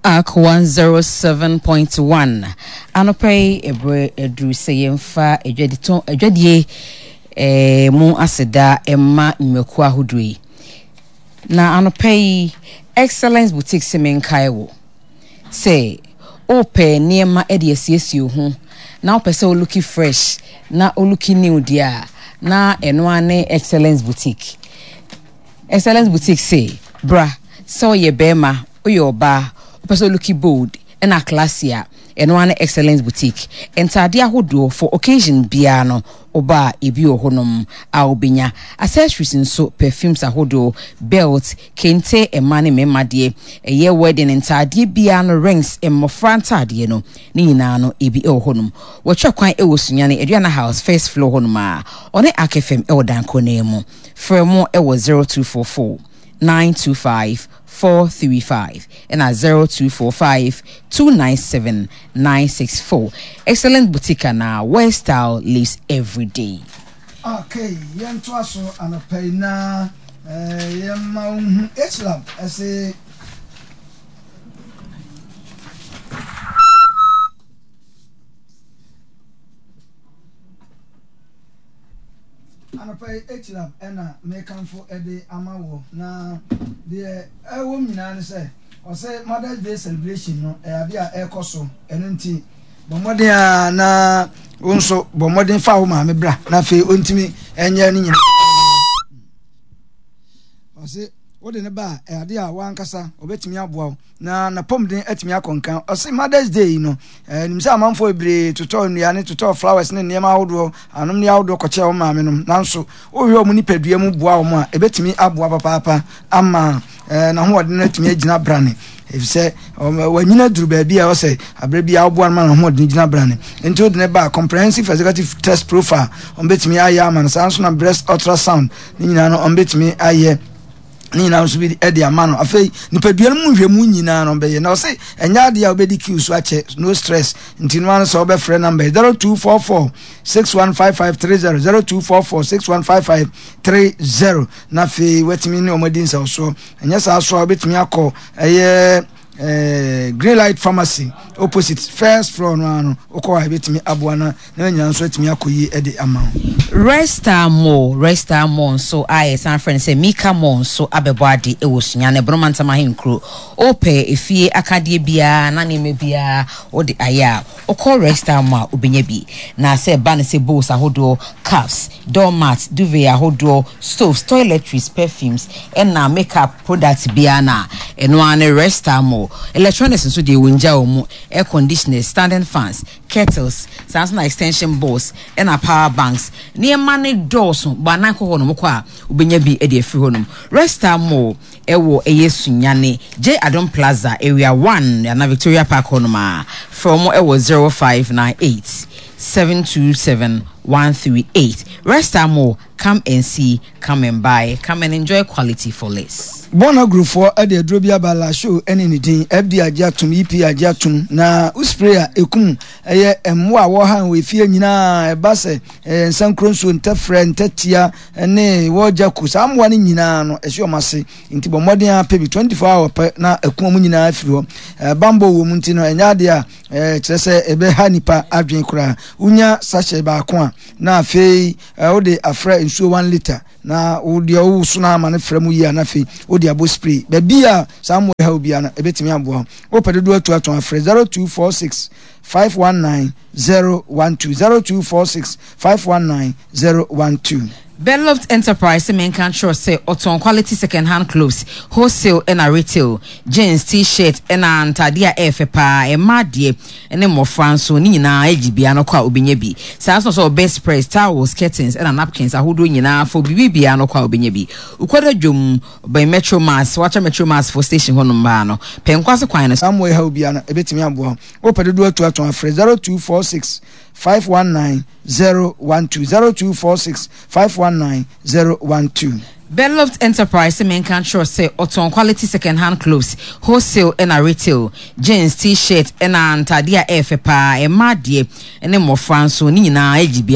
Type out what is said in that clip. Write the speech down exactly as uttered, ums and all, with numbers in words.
A C one zero seven point one. Anɔpa yi, ɛberɛ aduru sɛ yɛmfa adwaditɔn adwadie eh, mu aseda ɛma nnwumakuo ahodoɔ yi. Na anɔpa yi, Excellence Boutique sɛ menkae wo sɛ wopɛ nneɛma de asiesie wo ho na wopɛ sɛ wo look fresh na wo look new deɛ a, na ɛno ara ne Excellence Boutique. Excellence Boutique sɛ bra, sɛ woyɛ bɛrima, woyɛ ɔbaa, wopɛ sɛ wo look bold ɛna classy a, ɛno ara ne Excellence Boutique. Ntadeɛ ahodoɔ for occasion biara no, ɔbaa ebi wɔ hɔnom a wobɛnya. Accessories nso, perfumes ahodoɔ, belt, kente, mmaa ne mmarima deɛ, ɛyɛ wedding ntadeɛ biara no, rings, mmɔfra ntadeɛ no ne nyinaa no, ebi wɔ hɔnom. Wɔtwa kwan wɔ Sunyane Aduana House, first floor hɔnom a ɔne A C F M wɔ danko mu. Frɛ mo wɔ zero two four four nine two five four three five ɛna zero two four five two nine seven nine six four. Excellent Boutique, na where style lives every day. Okay, yɛntoa so anɔpa yi na eh, yɛmma wo hu H-Lab ɛsɛ anɔpa yi. H-Lab ɛna mekamfo ɛde ama wɔ, na deɛ ɛwɔ mu nyinaa ne sɛ ɔsɛ Mother's Day celebration no ɛyɛ adeɛ a ɛrekɔ so. Ɛno nti bɔ mmɔden a na wo nso bɔ mmɔden fa wo maame bra, na afei ɔntumi ɛnyɛ ne nyinaa. Ɔse wode ne ba a, ɛyɛ adeɛ a wankasa ɔbɛtumi aboa wo na napɔmuden atumi akɔ nkan. Ɔse Mothers Day yi no, ɛnim sɛ amanfoɔ bebree totɔ nnuane, totɔ flowers ne nneɛma ahodoɔ, anom ne ahodoɔ kɔkyɛ wɔn maame nom, nanso wohwɛ wɔn nipadua mu boa wɔn a, ɛbɛtumi aboa papaapa ama ɛɛ n'ahoɔden no atumi agyina brane, efisɛ wanyina duru baabi a ɔsɛ abere bi a ɔboa no ma n'ahoɔden gyina brane. Nti wode ne ba, comprehensive executive test profile wɔn bɛtumi ayɛ ama no. Saa nso na breast ultrasound ne nyinaa no, wɔn bɛtumi ayɛ ne nyinaa nso bi de ama no. Afei nipadua no mu nhwɛmu nyinaa no bɛyɛ, na ɔsɛ ɛnyɛ adeɛ a wobɛdi queue so akyɛ, no stress. Nti no ano sɛ wobɛfrɛ number zero two four four six one five five three zero, zero two four four six one five five three zero, na afei watumi ne ɔmo adi nsɛwsoɔ. Ɛnyɛ saa so a, wobɛtumi akɔ ɛyɛ eh, Green Light Pharmacy, opposite first floor no ano. Wokɔ a, ebɛtumi aboa na na nyinaa nso atumi akɔ yie de ama wo. Resta Mall, Resta Mall nso a yɛsan frɛ no sɛ Mika Mall nso abɛbɔ ade wɔ Sunyane Boroma Ntam Ahenkuro. Wopɛ efie akadeɛ biara na nneɛma biara wode ayɛ a, wokɔ Resta Mall a, wobɛnya bi. Na sɛ ɛba no sɛ bowls ahodoɔ, cups, doormat, duvet ahodoɔ, stoves, toiletries, perfumes ɛna makeup product biara na ɛno ara ne Resta Mall. Electronics nso deɛ, wɔngya wɔ mu: air conditioners, standing fans, kettles, saa nso na extension boards ɛna power banks. Nneɛma ne dɔɔso bɔ anan kɔ hɔ nom, kɔ a wobɛnya bi de afiri hɔ nom. Resta Mall ɛwɔ ɛyɛ Sunyane J Adom Plaza, Area one ana Victoria Park hɔ nom a, frɛ wɔn ɛwɔ zero five nine eight seven two seven one three eight. Resta Mall, come and see, come and buy, come and enjoy quality for less. Bɔna gurufoɔ de aduro bi aba, Lasho ne ne din. F D A agye atom, E P A agye atom, na wo spray a, ɛkum ɛyɛ mmoa a wɔha wɔ efie nyinaa. Ɛba sɛ ɛyɛ nsankuro nsuo, ntɛfrɛ, ntɛtia ne wɔgya ku, saa mmoa no nyinaa no ɛhyɛ wɔn ase. Nti bɔ mmɔden a pɛ bi, twenty-four hour pɛ na ɛku wɔn nyinaa afiri hɔ. Bambɔ wɔ mu, nti no ɛnyɛ adeɛ a kyerɛ sɛ ɛbɛha nipa adwene koraa. Wonya sachet baako a, na afei wode afrɛ nsuo one litre, na wodeɛ wowoso no ama no frɛ mu yie a, na afei wode abɔ spray baabi a saa mmoa ha obiara no, ɛbɛtumi aboa wo. Wopɛ dodoɔ atu atɔn, afrɛ zero two four six five one nine zero one two, zero two four six five one nine zero one two. Beloved Enterprise menka kyerɛ sɛ ɔtɔn quality second hand clothes, wholesale ɛna retail, jeans, T-shirt ɛna ntadeɛ a ɛyɛ fɛ paa, mmaa deɛ ne mmɔfra nso ne nyinaa agyi bea no kɔ a, wobɛnya bi. Saa nso sɛ bedspreads, towels, curtains ɛna napkins ahodoɔ nyinaa fo biribi bea no kɔ a, wobɛnya bi. Wokɔda dwom bɛn Metro Mass, wakyɛ Metro Mass fo station hɔnom baa no pɛnkwase kwan no. Saa mmoa yi ha obiara no, ɛbɛtumi aboa wo. Wopɛ dodoɔ atu atɔn, afrɛ zero two four six five one nine zero one two, zero two four six five one nine zero one two. Beloved Enterprise menka kyerɛ sɛ ɔtɔn quality second hand clothes, wholesale ɛna retail, jeans, T-shirt ɛna ntadeɛ a ɛyɛ fɛ paa, mmaa deɛ ne mmɔfra nso ne nyinaa agyi bea.